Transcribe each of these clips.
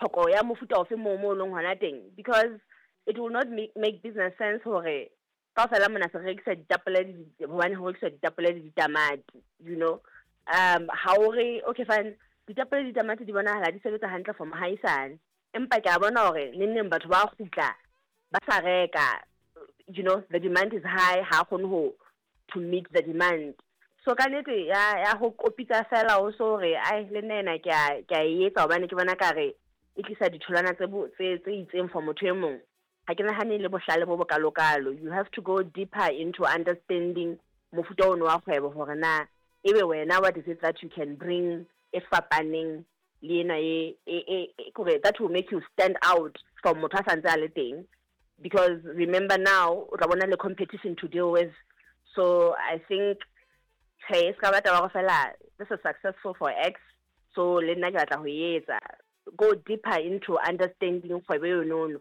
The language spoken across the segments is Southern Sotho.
tlhoko ya mofuta ofe moo mo leng hona teng, because it will not make business sense hore kaofela mona se re rekisa ditapole hobane ho rekiswa ditapole le ditamati, you know. Ha o re okay fine, ditapole le ditamati di bonahala di sebetsa hantle for mohaisane, empa ke a bona hore neng neng batho ba kgutla ba sa reka, you know, the demand is high, ha kgone ho to meet the demand. So ka nnete ya ho kopitsa fela o so re ai le nna ena ke a e etsa hobane ke bona ka re e tlisa ditholwana tse itseng for motho e mong. Ha ke nahane le bohlale bo bokalokalo. You have to go deeper into understanding mofuta ono wa kgwebo hore na ebe wena what is it that you can bring e fapaneng le ena e kore that will make you stand out from motho a santse a le teng, because remember now o tla bona le competition to deal with. So I think hey, se ka ba taba fela this is successful for X, so le nna ke batla ho etsa. Go deeper into understanding kgwebo yono.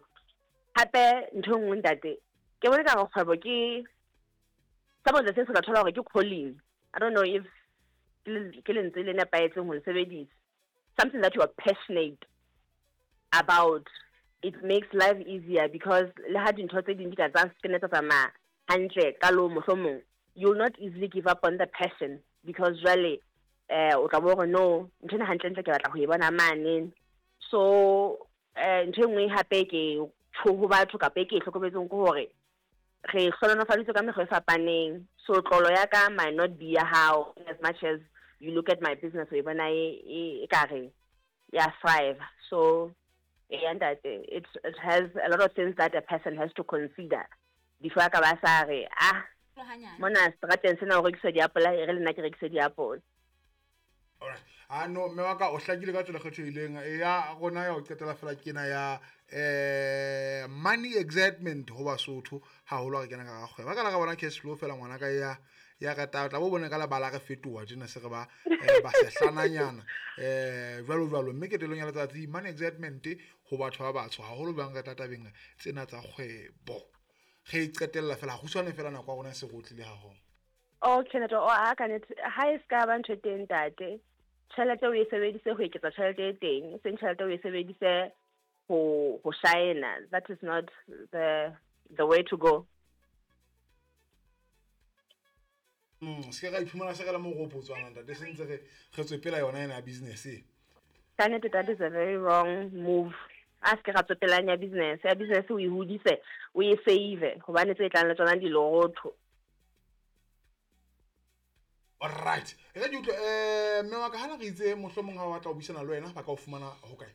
Hape ntho nngwe ntate ke bona ka kgwebo ke some of the things ka thola hore ke calling. I don't know if ke lentswe le nepahetseng ho le sebedisa. Something that you are passionate about, it makes life easier, because le ha dintho tse ding di ka tsa se tsa tsamaya hantle ka lo mohlomong, you'll not easily give up on the passion, because jwale o tla bo hore no ntho ena hantle ntle ke batla ho e bona mane. So ntho e nngwe hape ke tjho ho batho kapa e ke e hlokometseng ke hore re hlohonolofaditswe ka mekgwa e fapaneng. So tlolo ya ka might not be ya hao, as much as you look at my business o e bona e ka re ya thrive. So and that it has a lot of things that a person has to consider before a ka ba sa re ah mona strateng sena o rekisa diapola, e re le nna ke rekise diapola. Alright. Ah no, mme wa ka o hlakile ka tsela kgethehileng ya rona ya ho qetela fela ke ena ya money excitement ho Basotho haholo ha re kena ka kgwebo. Ka la ka bona cash flow fela ngwana ka ya re tla bo bone ka lebala re fetoha tjena se re ba ba sehlananyana jwalo jwalo. Mme ketelong ya letsatsi money excitement ho batho ba batsho haholo bang re tla tabeng tsena tsa kgwebo. Re qetella fela kgutshwane fela nako ya rona se rotlile haholo. Okay, ntate, o a ka nete ha e ska ba ntho e teng ntate. Tjhelete o e sebedise ho eketsa tjhelete e teng, e seng tjhelete o e sebedise ho shine. That is not the way to go. Se ka iphumana se ka la mo ropotswana ntate, se ntse re tswe pela yona ena ya business e. Ka nete that is a very wrong move. A se ka tswe pela ya business, ya business o e hodise, o e save hobane tse tlang le tsona di lorotho. All right. E ka utlwe mme wa ka hana re itse mohlomong ha o batla ho buisana le wena ba ka o fumana ho kae?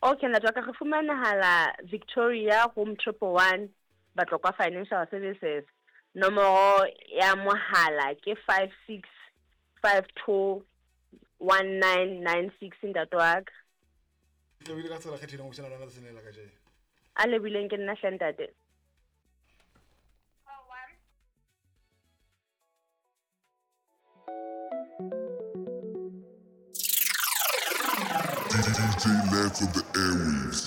Okay, ntate wa ka re fumanahala Victoria room 111 Batlokwa Financial Services. Nomoro ya mohala ke 56521996 ntate wa ka. Ke ka tsela kgethileng ho buisana le wena tsatsing la kajeno. A lebileng ke nna hle ntate. DJ Lance of the Airwaves.